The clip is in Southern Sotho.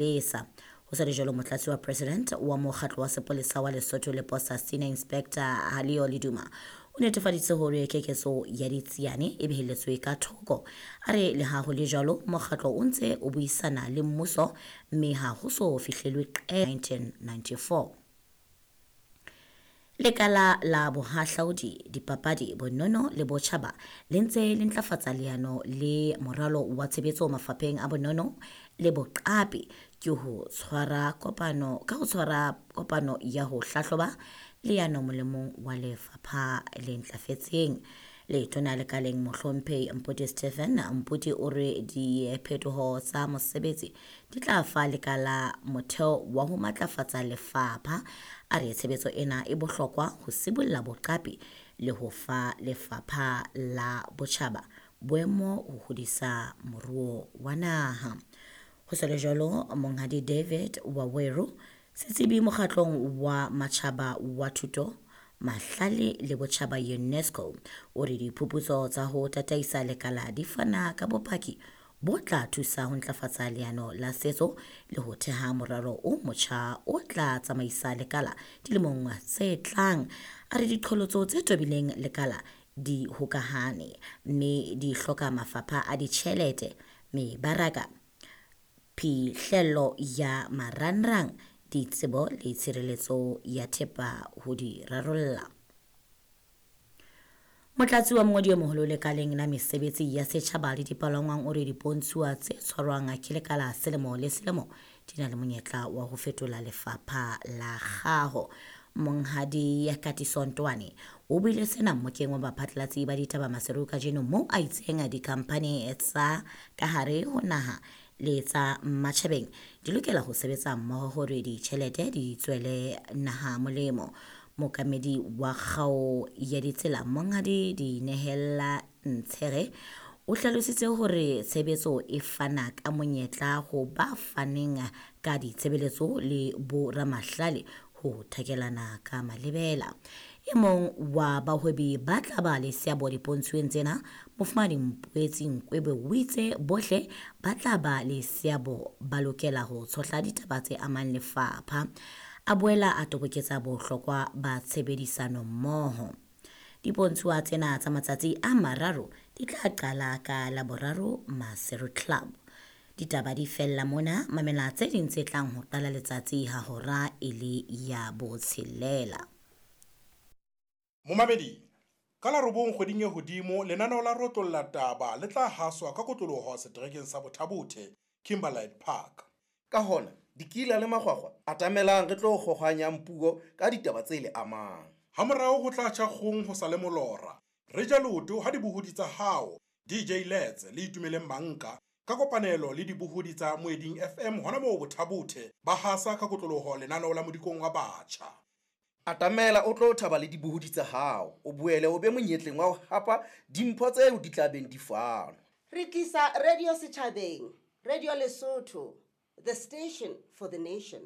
Lesa. Ho sa le jwalo, motlatsi wa president wa mokgatlo wa sepolesa wa Lesotho le Posa Senior Inspector Halio Leduma o netefaditse hore keketso ya ditsiane e behelletswe ka thoko. A re leha ho le jwalo, mokgatlo o ntse o buisana le mmuso mme ha ho so fihlelwe qeto. 1994. Lekala la bohahlaudi, dipapadi, bonono le botjhaba le ntse le ntlafatsa leano le moralo wa tshebetso mafapheng a bonono le boqapi ke ho tshwara kopano ka ho tshwara kopano ya ho hlahloba leano molemong wa lefapha le ntlafetseng. Letona lekaleng Mohlomphehi Mpoti Stephen Mpoti o re diphetoho tsa mosebetsi di tla fa lekala motheo wa ho matlafatsa lefapha. A re tshebetso ena e bohlokwa ho sibolla boqapi le ho fa lefapha la botjhaba boemo ho hodisa moruo wa naha. Ho sa le jwalo, Monghadi David Waweru, setsebi mokgatlong wa matjhaba wa thuto, mahlale le botjhaba UNESCO, o re diphuputso tsa ho tataisa lekala di fana ka bopaki bo tla thusa ho ntlafatsa leano la setso le ho theha moralo o motjha o tla tsamaisa lekala dilemong tse tlang. A re diqholotso tse tobileng lekala di hokahane mme di hloka mafapha a ditjhelete, mebaraka, phihlello ya marangrang, ditsebo le tshireletso ya thepa ho di rarolla. Motlatsi wa mongodi e moholo lekaleng la mesebetsi ya setjhaba le dipalangwang o re dipontshuwa tse tshwarwang ke lekala selemo le selemo di na le monyetla wa ho fetola lefapha la kgaho. Monghadi Katiso Ntoane o buile sena mmokeng wa baphatlalatsi ba ditaba Maseru kajeno moo a itseng dikhamphani tsa ka hare ho naha le tsa matjhabeng di lokela ho sebetsa mmoho hore ditjhelete di tswele naha molemo. Mookamedi wa kgao ya ditsela Monghadi Dinehela Ntshere o hlalositse hore tshebetso e fana ka monyetla ho ba faneng ka ditshebeletso le boramahlale ho thakelana ka malebela. E mong wa bahwebi ba tla ba le seabo dipontshweng tsena, Mofumahadi Mpoetsi Nkwebe o itse bohle ba tla ba le seabo ba lokela ho tshohla ditaba tse amang lefapha. A boela a toboketsa bohlokwa ba tshebedisano mmoho. Dipontshuwa tsena tsa matsatsi a mararo di tla qala ka Laboraro Maseru Club. Ditaba di fella mona, mamela tse ding tse tlang ho qala letsatsi ha hora e le ya botshelela. Momamedi, ka la robong kgweding e hodimo lenaneo la Rotlolla Taba le tla haswa ka kotloloho seterekeng sa Bothabothe, Kimberlite Park. Ka hona, dikila le makgwakgwa, atamelang re tlo kgohwanyang puo ka ditaba tse le amang. Hamorao ho tla tjha kgong ho sa le molora. Re ja leoto ha dibohodi tsa hao, DJ Lets le Itumeleng Manka, ka kopanelo le dibohodi tsa Moeding FM hona moo Bothabothe, ba hasa ka kotloloho lenaneo la Modikong wa Batjha. Atamela o tlo thaba le dibohodi tsa hao, o boele o be monyetleng wa ho hapa dimpho tseo di tla beng di fanwa. Re tlisa radio setjhabeng, Radio Lesotho, the station for the nation.